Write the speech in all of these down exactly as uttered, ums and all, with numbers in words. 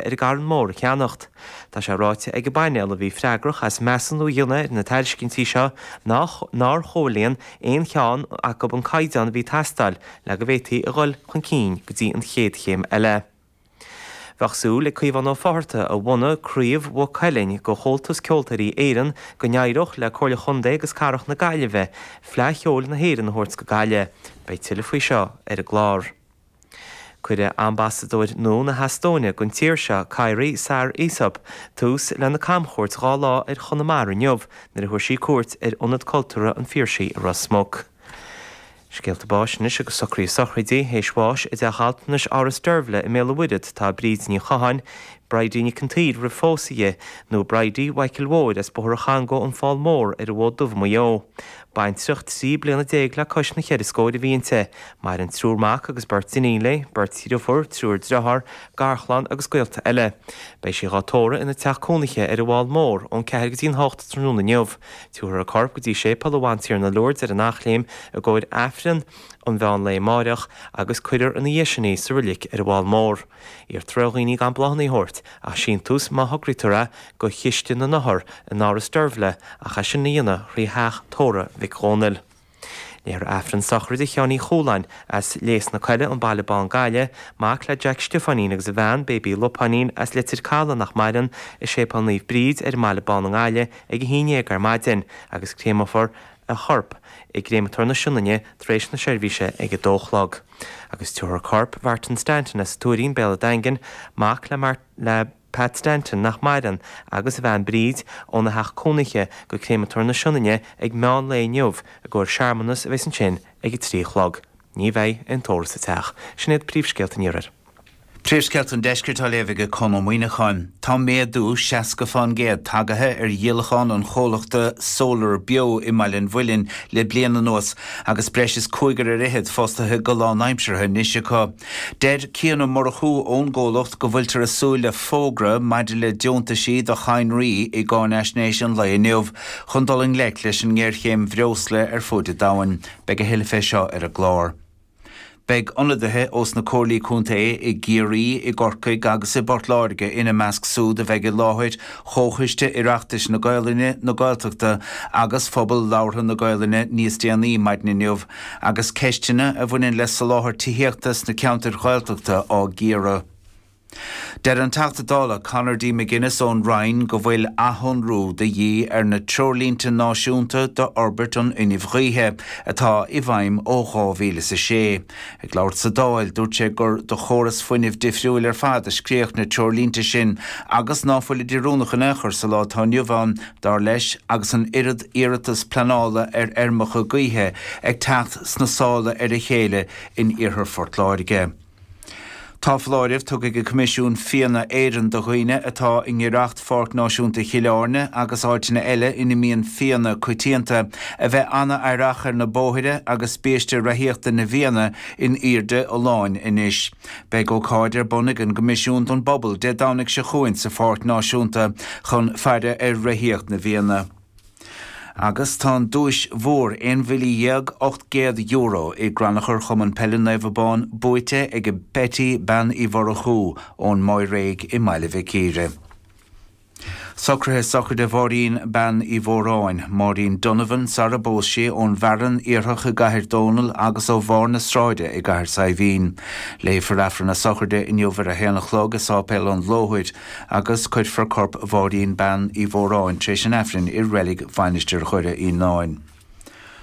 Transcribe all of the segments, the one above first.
ar an gCarn Mór a cheannacht. Tá sé ráite ag an bpainéal a bhí freagrach as measúnú a dhéanamh ar na tairiscintí seo nach nár chomhlíon aon cheann acu an caighdeán a bhí ag teastáil le go bhféadfaí a dhul chun cinn go dtí an chéad chéim eile. Bheadh súil ag Caomhán Ó Fátharta a bhunaigh Craobh Mhaigh Cuilinn de Chomhaltas Ceoltóirí Éireann go n-éireodh le Comhairle Chontae agus Cathrach na Gaillimhe Fleadh Cheoil na hÉireann a thabhairt go Gaillimh. Beidh tuilleadh faoi seo ar an gclár. Cuirfidh ambasadóir nua na hEastóine don tír seo, Kairi Saar-Isop, tús lena camchuairt dhá lá ar Chonamara inniu nuair a thabharfaidh sí cuairt ar Ionad Cultúrtha an Phiarsaigh i Ros Muc. Scéalta báis anois agus socruithe sochraide, théis bháis i dteach altranais Áras Deirbhile i mBéal an Mhuirthead tá Bríd Ní Chatháin, Bridie Nic an tSaoir roimh phósadh di, nó Bridie Mhichael Mhóir as Bóthar an Changó an Fál Mór ar an bhFód Dubh i Maigh Eo. Baintreach trí bliana déag le cois na cheithre scóir a bhí inti. Maireann triúr mac agus beirt iníon léi, beirt dhriofúr, triúr driotháir, garchlann agus gaolta eile. Beidh sí dhá tórramh ina teach cónaithe ar an bhFál Mór ón ceathair go dtí an hocht tráthnóna inniu. Tabharfar a corp go dtí Séipéal an Bhantiarna Lourdes ar an Eachléim i gcomhair Aifreann an mheán lae amáireach agus cuirfear ina dhiaidh sin í sa reilig ar an bhFál Mór. Iarrtar ar dhaoine gan bláthanna a thabhairt ach síntiús má thograítear é go Chiste na nOthar in Áras Deirbhile ach é sin a dhéanamh thrí theach tórraimh Mhic Dhónaill. Léifear Aifreann sochraide Sheáin Uí Chualáin as Léas na Coille, an Baile Bán Gaillimh, mac le Jack Stiofáinín agus a bhean, Baby Lupáinín, as Leitir Caladh nach maireann, i Séipéal Naomh Bríd ar an mBaile Bán i nGaillimh ag a haon dhéag ar maidin agus créamófar a chorp i gCréamatóir na Sionainne tar éis na seirbhíse ag a dó a chlog. Agus tabharfar corp Mhartin Stanton as Tuairín, Béal an Daingin, mac le Mar le Pat Stanton nach maireann, agus a bhean Bríd, óna theach cónaithe go Créamatóir na Sionainne ag meán lae inniu i gcomhair searmanas a bheas ansin ag a trí a chlog. Ní bheidh aon tórramh sa teach. Sin iad príomhscéalta an Iarthair. Príomhscéalta an Deiscirt á léamh ag Conn Ó Muíneacháin. Tá méadú seasca fán gcéad tagaithe ar dhíolachán an chomhlachta Solar Beo i mBaile an Mhuilinn le bliain anuas agus breis is cúigear ar fhichead fostaithe go lánaimseartha anois acu. Deir Cian Ó Murchú ón gcomhlacht go bhfuiltear ag súil le fógra maidir le deontaisí do chadhnraí i gcáinaisnéis an lae inniu chun dul i ngleic leis an ngéarchéim bhreosla ar fud an domhain. Beidh a thuilleadh fé seo ar an gclár. Beidh ionadaithe ós na comhairlí contae i gCiarraí, i gCorcaigh agus i bPort Láirge ina measc súd a bheidh i láthair Chomhchoiste Oireachtais na Gaolainne, na Gaeltachta agus Phobal Labhartha na Gaolainne níos déanaí maidin inniu agus ceisteanna a bhaineann le soláthar tithíochta sna ceantair Ghaeltachta á gcíoradh. Deir an Teachta Dála Conor D. McGuinness ón Rinn go bhfuil athshonrú de dhíth ar na treoirlínte náisiúnta d'fhorbairt an fhuinnimh ghaoithe atá i bhfeidhm ó dhá mhíle is a sé. Ag labhairt sa Dáil, dúirt sé gur do chóras fuinnimh difriúil ar fad a scríodh na treoirlínte sin agus ná fuilid oiriúnach in aon chor sa lá atá inniu ann, dar leis, agus an oiread iarratas pleanála ar fheirmeacha gaoithe ag teacht sna sála ar a chéile in iarthar Phort Láirge. Tá foláireamh tugtha ag Coimisiún Fianna Éireann do dhaoine atá i ngiorracht Pháirc Náisiúnta Chill Airne agus áiteanna eile ina mbíonn fianna coitianta a bheith an-aireach ar na bóithre agus biaiste reathaíochta na bhfianna in airde a láin anois. Beidh ócáid ar bun ag an gCoimisiún don bpobal Dé Domhnaigh seo chugainn sa Pháirc Náisiúnta chun faire ar reathaíocht na bhfianna. Agus tá an duais mhór aon mhíle dhéag ocht gcéad euro i gcrannchur Chumann Peile Naomh Abán buaite ag Betty Bean Uí Mhurchú ón Máiréig i mBaile Mhic Íre. Socruithe sochraide Mháirín Bean Uí Mhóráin, Máirín Donovan sara bpós sí ón bhFearann Iarthach i gCathair Dónall agus ó Bharr na Sráide i gCathair Saidhbhín. Léifear Aifreann na sochraide inniu ar a haon a chlog i Sáipéal an Lóthair agus cuirfear corp Mháirín Bean Uí Mhóráin tar éis an Aifrinn i reilig Mhainistir Dhoire Fhíonáin.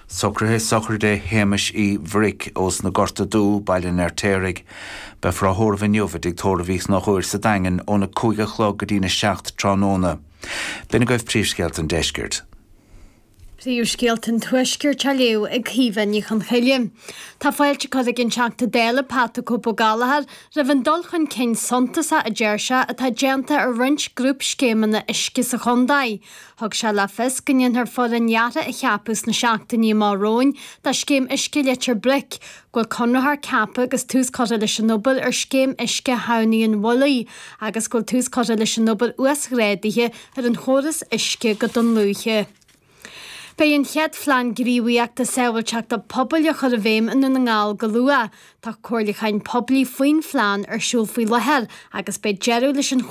Socruithe sochraide Shéamais Uí Bhric ós na Gorta Dubh, Baile an Fheirtéaraigh. Beifear á thórramh inniu i dtigh tórraimh Uí Chonchúir sa Daingean óna cúig a chlog go dtína seacht tráthnóna. B'in agaibh príomhscéalta an deiscirt. Príomhscéalta an Tuaiscirt á léamh ag Caoimhe Ní Chonchoille. Tá fáilte curtha ag an Teachta Dála Pat the Cope Ó Gallchóir roimh an dul chun cinn suntasach a deir sé atá déanta ar roinnt grúpscéimeanna uisce sa chontae. Thug sé le fios go ndéanfar foireann dheartha a cheapadh sna seachtainí amach romhainn do scéim uisce Leitir Bric, go bhfuil conraitheoir ceaptha agus tús curtha leis an obair ar scéim uisce Thamhnaigh an Mhullaigh agus go bhfuil tús curtha leis an obair uasghrádaithe ar an chóras uisce go Dún Lúiche. Beidh an chéad phlean gníomhaíochta sábháilteachta pobail á chur i bhfeidhm i nDún na nGall go luath. Tá comhairliúchán poiblí faoin phlean ar siúl faoi láthair agus beidh deireadh leis an